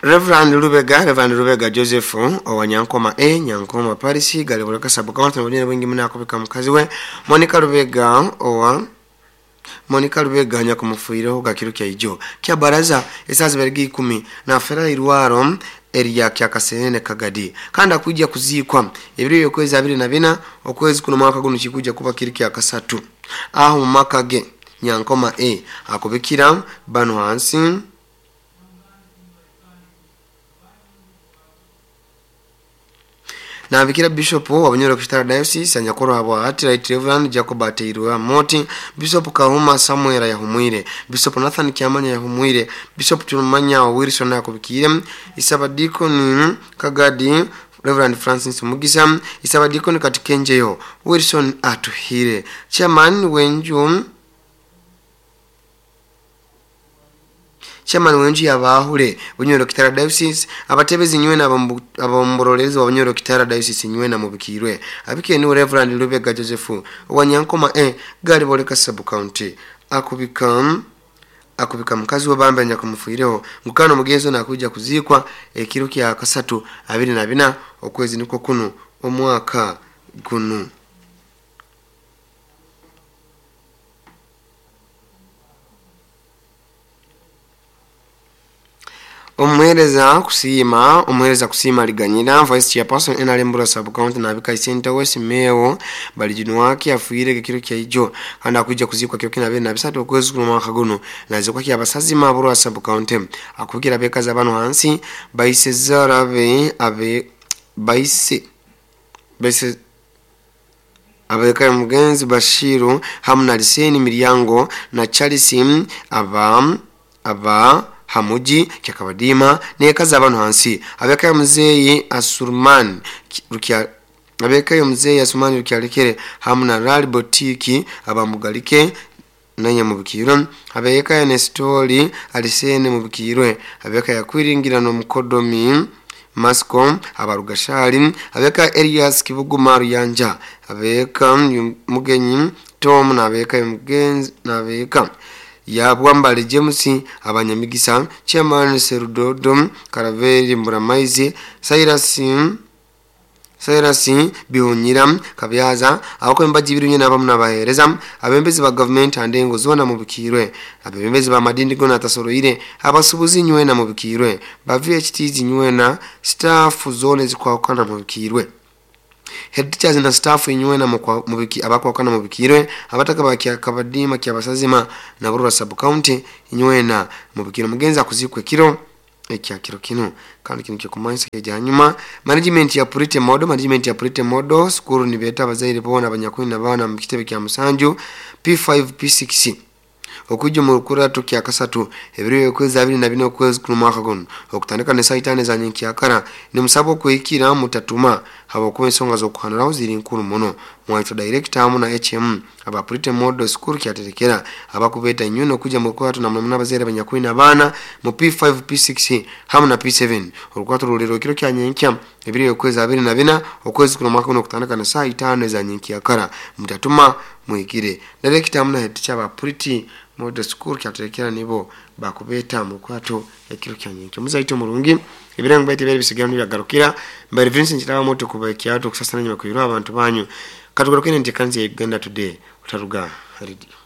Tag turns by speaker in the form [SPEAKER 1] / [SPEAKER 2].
[SPEAKER 1] Reverend Lubega Joseph owa Nyankoma A, Nyankoma Paris, Galiboleka Sub County, n'obunene bwingi muno akubika mukazi we Monica Lubega, owa Monica Lubega, nyakumufiireho gakiro kyaijo kya baraza esaaha zibarega 10, nafera irwaro erya Kyakasenene Kagadi, kandi akwijja kuziikwa ebiro byokwezi 24 okwezi kuno mwaka guno, kikujja kuba kiri kyakasatu, aho mu maka ge Nyankoma A. Akubikira bano hansi. Nabikira Bishop wa Bunyoro Kitara Diocese anyakorwa habwa hati Right Reverend Jacob Ateirwe Moti, Bishop Kahuma Samuel yahumwire, Bishop Nathan Kyamanya yahumwire, Bishop Tumanya wa Wilson yakubikire, Isabadikoni Kagadi Reverend Francis Mugisa, Isabadikoni Katikenjeyo Wilson Atuhire, Chairman wenju yabahure Bunyoro Kitara Diocese, abatebezi nywena abamburolezi wa Bunyoro Kitara Diocese nywena mubikirwe. Abike ni Reverend Lubega Joseph wa Nyankoma A, Galiboleka Sub County, akubika mukazi we bambe nyakumufiireho ngukano mugenzo nakuja kuzikwa ekiro kya kasatu 24 okwezi niko kuno omwaka gunu. Omuhereza kusiima liganyira, vice chairperson NRM Bura Sub County, nabika isente we Simeo Balijunwaki afuire kiro kyaijo, kandi akuija kuzikwa kiro kina 23 okwezi kuno mwaka guno, nazikwa kya basazima Bura Sub County. Akubikira bekaza bano hansi: baise zarabe abe baise abeka mugenzi Bashiru hamu na Liseni Miryango na Charles aba hamuji kyakabadima nekaza abantu hansi, abeka muzeyi Asurman Rukia, abeka muzeyi Asurman Rukyalekere hamu na Rali Botiki abamugalike nanye mubikirwe, abeka ya Nestori Alisene mubikirwe, abeka yakwiringira no mukodomi Masco abarugashali, abeka Elias Kibuguma Ruyanja, abeka Mugenyi Tom nabeka mugenzi nabeka yabwambale James abanyamigisa, Chairman Serudodo Karaveri Mburamaizi, Cyrus Bihunyira Kabyaza, abakwemba jibiru nyene abamu n'abaheereza, abembezi ba gavumenti andengo zona mubikirwe, abebembezi ba madini gona atasoroire, abasubuzi nywena mubikirwe, ba VHTs nywena, staff zone zikwakana mubikirwe, head teachers na staff inywena mubiki abakwakana mubikirwe, abataka ba Kabadima kyabasazima na Burura Sub County inywena mubikirwe. Mugenzi akuzikwe kiro ekya kiro kino. Kandi kino kyokumanyisa kya nyuma, management ya Purite Model School nibeta abazaire bona abanyakwini n'abaana mu kitebe kya musanju P5 P6 okujja mu lukurato kya kasatu ebiro okwezi 24 okwezi kuno mwaka guno, okutandika ne saa 5 za nyenkyakara. Nimusaba okwekira mutatuma habwokuba ensonga z'okuhanuraho ziri nkuru muno. Mwaitwa director hamu na HM aba Purite Model School kyaterekera abakubeeta inywe okujja mu lukurato na muno abazaire abanyakwini abaana mu P5 P6 hamu na P7. Olukurato ruliro ekiro kya nyenkya ebiro okwezi 24 okwezi kuno mwaka guno, okutandika na saa 5 za nyenkyakara. Mutatuma, mwikire. Director hamu na head teacher aba Purite Model School kyaterekera nibo bakubeeta mu lukurato ekiro kya nyenkya. Muzaito murungi, ebirango baite bere bisigara nibyagarukira mbere Vincent kiraba moto kuba ekyato okusasana nyuma kuirwa abantu banyu. Katugarukire entekanzi ya Uganda Today. Utaruga radio.